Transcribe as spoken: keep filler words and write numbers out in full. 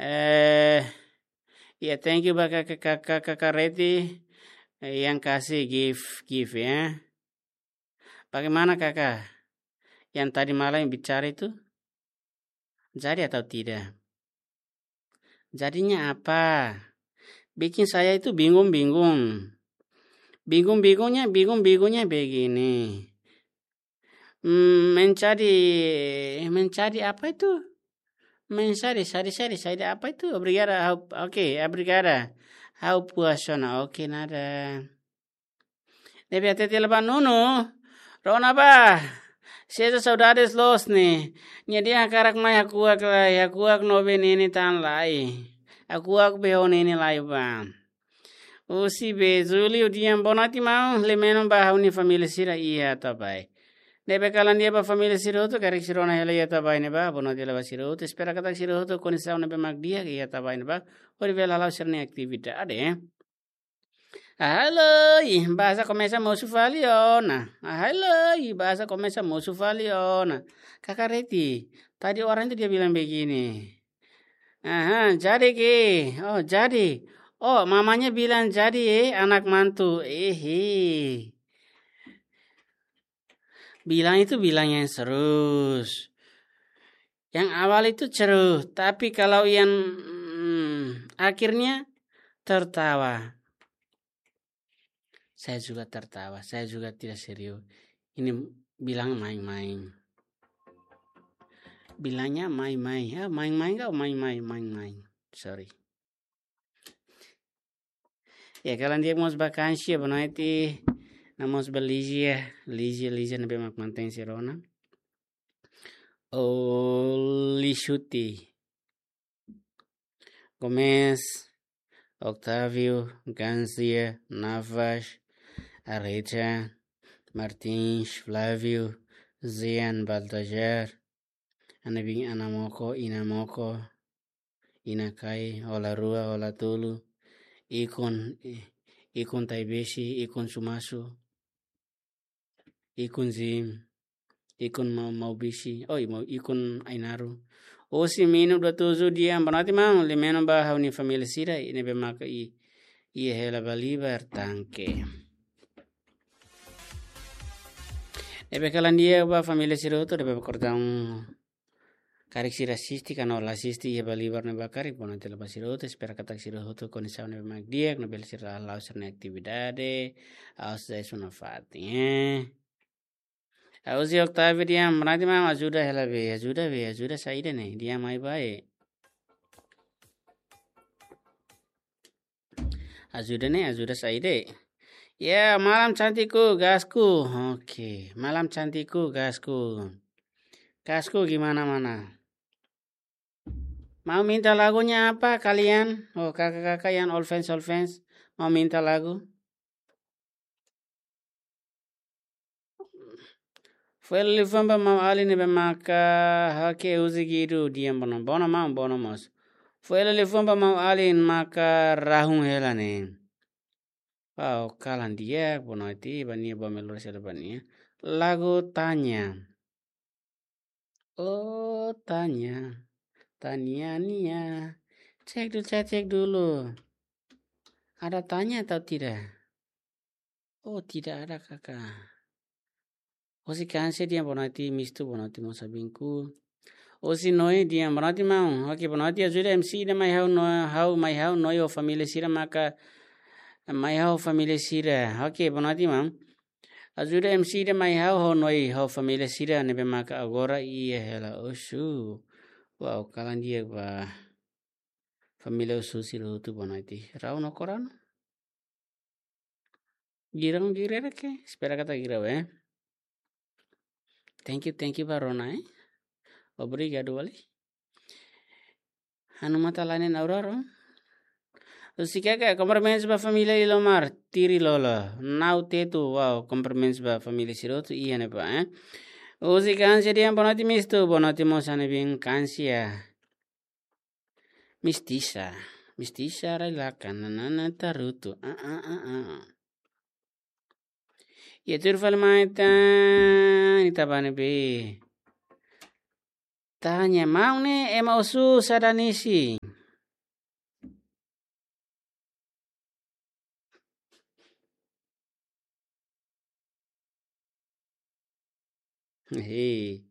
Eh, ya, thank you ba Kakak, Kakak, Kakak Reti, eh, yang kasih gift, gift ya. Bagaimana Kakak? Yang tadi malam bicara itu? Jadi atau tidak? Jadinya apa? Bikin saya itu bingung-bingung. Bingung-bingungnya, bingung-bingungnya begini. Hmm, mencari, mencari apa itu? Mencari, cari, cari, cari apa itu? Obrigada, ha'u, oke, obrigada. Ha'u puas ona, oke, nada. Ne'ebé hatete hela ba Nunu, rona ba. Sente saudades loos ne'e. Nia dehan hakarak mai hakuak lai, hakuak no be ne'e tan lai. Hakuak be ho ne'e lai ba. Husi be Julio dehan boa noite maun, lemeno ba ha'u-nia família sira iha Atabae. Ne'ebé kalan di'ak ba família sira hotu, karik sira rona hela iha Atabae ne'ebá, boa noite hela ba sira hotu, espera katak sira hotu kondisaun ne'ebé mak di'ak iha Atabae ne'ebá, hodi bele hala'o sira-nia atividade, eh. Ahai loi, bahasa komesa mosu fali ona. Ahai loi, bahasa komesa mosu fali ona. Kakak Reti, tadi orang itu dia bilang begini. Aha, jadi ke? Oh, jadi. Oh, mamanya bilang jadi, eh, anak mantu. Ehe. Bilang itu bilang yang serius. Yang awal itu ceruh, tapi kalau yang, mm, akhirnya tertawa. Saya juga tertawa, saya juga tidak serius. Ini bilang main-main. Bilangnya main-main. Ya, main-main kau, main-main, main-main. Sorry. Ya, kalan di'ak mós ba Kansia, boa noite. No mós ba Lígia, Lígia, Lígia ne'ebé mak mantein sira rona. Olisuti. Gomes, Octávio, Gansia, Navas, Arrecha, Martins, Flávio, Zian, Baltazar, Anabin, Anamoko, Inamoko, Inakai, Ola Rua, Ola Tolu, Ikun, Ikun Taibesi, Ikun Sumasu, Ikun Zim, Ikun Mau, Mau Bisi, oi, Mau, Ikun Ainaru. Husi Minu dua tujuh dehan, boa noite maun, lemeno ba ha'u-nia família sira, ne'ebé maka i, iha hela Balibar tanke. Ne'ebé kalan di'ak ba família sira hotu, ne'ebé ba kordaun karik sira asiste, ka no la asiste iha Balibar ne'ebá karik, boa noite hela ba sira hotu, espera katak sira hotu kondisaun ne'ebé mak di'ak, no bele sira hala'o sira-nia atividade, aos dez una fatin, eh. Husi Octávio dehan, boa noite maun, ajuda hela be, ajuda be, ajuda saida ne'e, dehan mai ba, eh. Ajuda ne'e, ajuda saida. Ya, malam cantikku, gasku. Oke, malam cantikku, gasku. Gasku gimana mana? Mau minta lagunya apa kalian? Oh, kakak-kakak yang all fans, all fans. Mau minta lagu? Fo'er liafuan ba maun alin ne'ebé maka hakerek husi Guido dehan bono. Bono maun, bono mós. Fo'er liafuan ba maun alin maka rahun hela ne'e. Wow, kalan di'ak, boa noite, ba nia ba melhor sira ba nia. Lagu Tanya. Oh, tanya. Tanya nia. Cek dulu, cek, cek dulu. Ada tanya atau tidak? Oh, tidak ada, kakak. Husi Kansia dehan boa noite, mistu, boa noite mós abinku. Husi Noi dehan boa noite maun. Oke, boa noite, ajuda M C ida mai ha'u no, ha'u mai ha'u Noi ho família sira maka mai ha'u família sira. Oke, boa noite maun. Ajuda M C ida mai ha'u ho Noi ho família sira ne'ebé maka agora iha hela Osu. Wow, kalan di'ak ba família Osu sira hotu, boa noite. Rau no korang? Girang girere ke? Espera katak girau, eh. Thank you, thank you ba rona, eh. Obrigadu wali. Hanu mata lain na uraro. Husi Keke, cumprimentos ba família Ilomar, Tiri Lolo, Nau Tetu, wow, cumprimentos ba família sira hotu iha ne'ebá, eh. Husi Kansia dehan boa noite mistu, boa noite mós Anabin Kansia. Mistisa, mistisa rai lakan, nanana tarutu, ah, ah, ah, ah. Ya, tuir fali mai tan, ita bá ne'ebé. Tanya, maun ne'e ema Osu saida nia isin? Hehe.